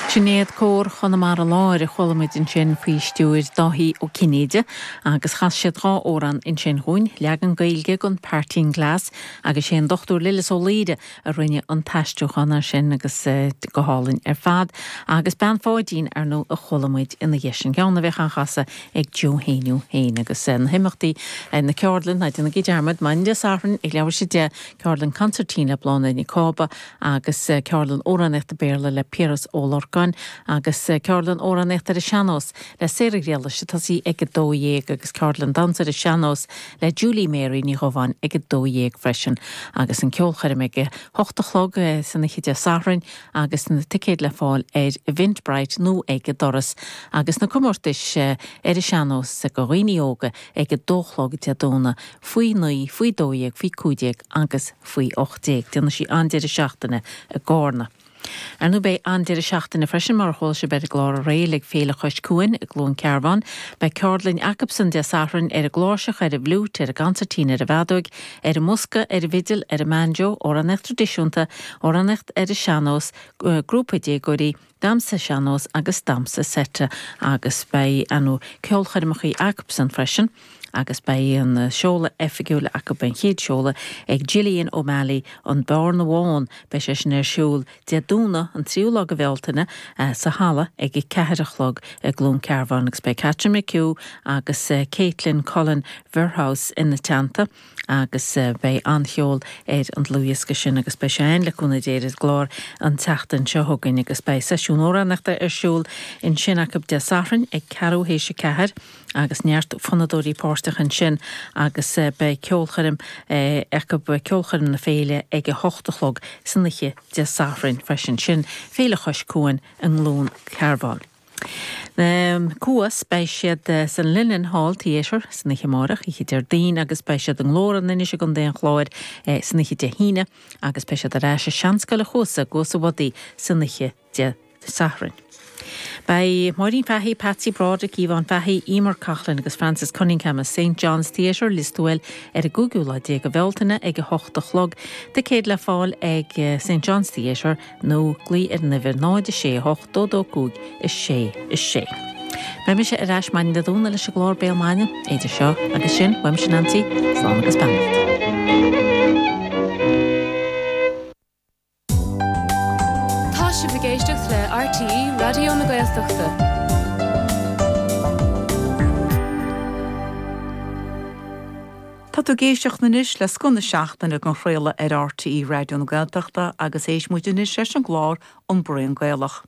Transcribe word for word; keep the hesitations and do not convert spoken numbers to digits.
Sinéad Cór Chonamara Láir a chuala muid ansin faoi stiúir Dáithí Ó Cinnéide agus chas siad dhá amhrán ansin dhúinn, leagan Gaeilge den Parting Glass agus sé an Dr Lillis Ó Laoire a rinne an t-aistriúchán air sin agus go hálainn ar fad agus Bean Pháidín ar ndóigh a chuala muid ina dhiaidh sin ceann a bheadh á chasadh ag Joe Éinniú féin agus na himeachtaí na ceardlann ná déanaigí dearmad maidin Dé Sathairn ag leathuair tar éis a deich ceardlann consairtín le Bláthnaid Nic Cába agus ceardlann amhránaíochta Béarla le Piaras Ó Lorcáin agus ceardlann amhránaíochta ar an sean-nós le Sarah Ghriallais ag tosaí ag a dó dhéag agus ceardlann damhsa ar an sean-nós le Julie Mary Ní Dhubháin ag a dó dhéag freisin agus an ceolchoirm ag a hocht a chlog san oíche Dé Sathairn agus na ticéid le fáil ar Eventbrite nó ag an doras agus na comórtais ar an sean-nós do dhaoine óga ag a dó a chlog Dé Domhnaigh faoi naoi, faoi dó dhéag, faoi cúig déag agus faoi ocht déag. Déanfaidh sí an-deireadh seachtaine i gCarna. Ar ndóigh beidh an-deireadh seachtaine freisin mar a chuala sibh ar an gclár aréir ag Féile Chois Cuain i gCluain Cearbán. Beidh ceardlann acubsan Dé Sathairn ar an gcláirseach, ar an bhfliúit, ar an gconsairtín, ar an bhfeadóig, ar an mbosca, ar an bhfidil, ar an mbanjo, amhránaíocht traidisiúnta, amhránaíocht ar an sean-nós, grúpa déagóirí, damhsa sean-nós agus damhsa seite agus beidh anu ceolchoirmeacha acubsan freisin. agus beidh an seoladh oifigiúil acu an chéad seoladh ag Gillian O'Malley an Bearna Bhán beidh sé sin ar siúl Dé Domhnaigh an tríú lá de Bhealtaine sa halla ag a ceathair a chlog i gCluain Cearbán agus beidh Catherine McHugh agus Caitlin Cullen Verhouse ina teannta agus beidh an-cheol ar an dlúthdhiosca sin agus beidh sé ann le cúnamh Dé ar an gclár an tseachtain seo chugainn agus beidh seisiún amhránaíochta ar siúl ansin acu Dé Sathairn ag ceathrú théis a ceathair agus neart fonnadóirí páirteach ansin agus beidh ceolchoirm acu ceolchoirm na féile ag a hocht a chlog san oíche Dé Sathairn freisin sin Féile Chois Cuain i gCluain Cearbán. Um, Cuas beidh siad san Linen Hall Theatre san oíche amárach oíche Déardaoin agus beidh siad i nGlór an Inis i gContae an Chláir eh, san oíche Dé hAoine agus beidh siad ar ais i Seanscoil an Chuasa gCuas an Bhodaigh san oíche Dé Sathairn. Beidh Máirín Fahey, Patsy Broderick, Yvonne Fahey, Emer Coughlin agus Francis Cunningham i St John's Theatre Lios Tuathail ar an gcúigiú lá déag de Bhealtaine ag a hocht a chlog. Ticéid le fáil ag St John's Theatre nó glaoigh ar an uimhir náid sé hocht dó dó cúig a sé a sé. Beidh mise ar ais maidin Dé Domhnaigh leis an gclár Béal Maidine, idir seo agus sin, uaimse Nancy, slán agus beannacht. Tá sibh ag éisteacht le RTÉ Raidió na Gaeltachta. Tá tú ag éisteacht anois le Scoth na Seachtaine á chraoladh ar RTÉ Raidió na Gaeltachta agus éistfidh muid anois leis an gclár An Braon Gaelach.